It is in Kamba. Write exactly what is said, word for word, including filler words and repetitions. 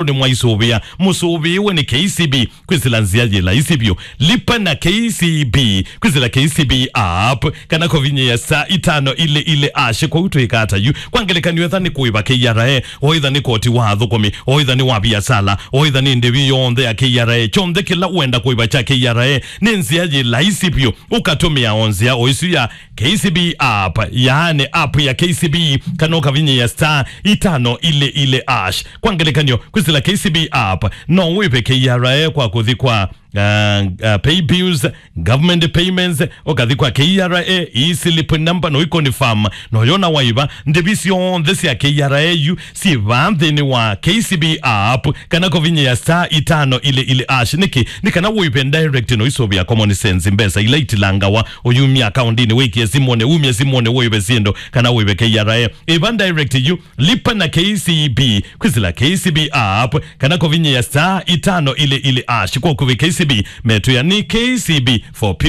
nĩmwaisũvĩa, mũsũvĩwe nĩ K C B kwĩsĩla nzĩa yĩ laisi vyũ. Lipa na K C B kwĩsĩla K C B app, kana kũvinyĩa star itano ile ile ash. Kwoou twĩka ata yu? Kwa ngelekany'o, etha nĩ kũĩva K R A, o etha nĩ koti wa athũkũmi, o etha nĩ wa viasala, o etha nĩ ndĩvi yonthe ya K R A, kyonthe kĩla ũenda kũĩva kya K R A, nĩ nzĩa yĩ laisi vyũ ũkatũmĩa o nzĩa o ĩsu ya K C B app, yaani app ya K C B, kana ũkavinyĩa star itano ile ile ash. Kwa ngelekany'o, kwĩsĩla K C B app, no wĩve K R A kwa kũthi kwa, uh, uh, pay bills, government payments, ũkathi kwa K R A e-slip number, no ĩconfirm, no yona waiva. Ndĩvi syonthe sya K R A yu syĩ vaa nthĩnĩ wa K C B app, kana kũvinyĩa star itano ile ile ash. Nĩkĩ? Nĩ kana wĩve direct, no isũvĩa common sense, mbesa ila itilangawa, ũyumya akaundinĩ, wĩkĩe simũnĩ, umye simũnĩ, wĩve syĩndũ, kana wĩve K R A. Ĩva direct yu, lipa na K C B, kwĩsĩla K C B app, kana kũvinyĩa star itano ile ile ash. Kwa ũkuvĩ K C B, metwĩa nĩ K C B for people.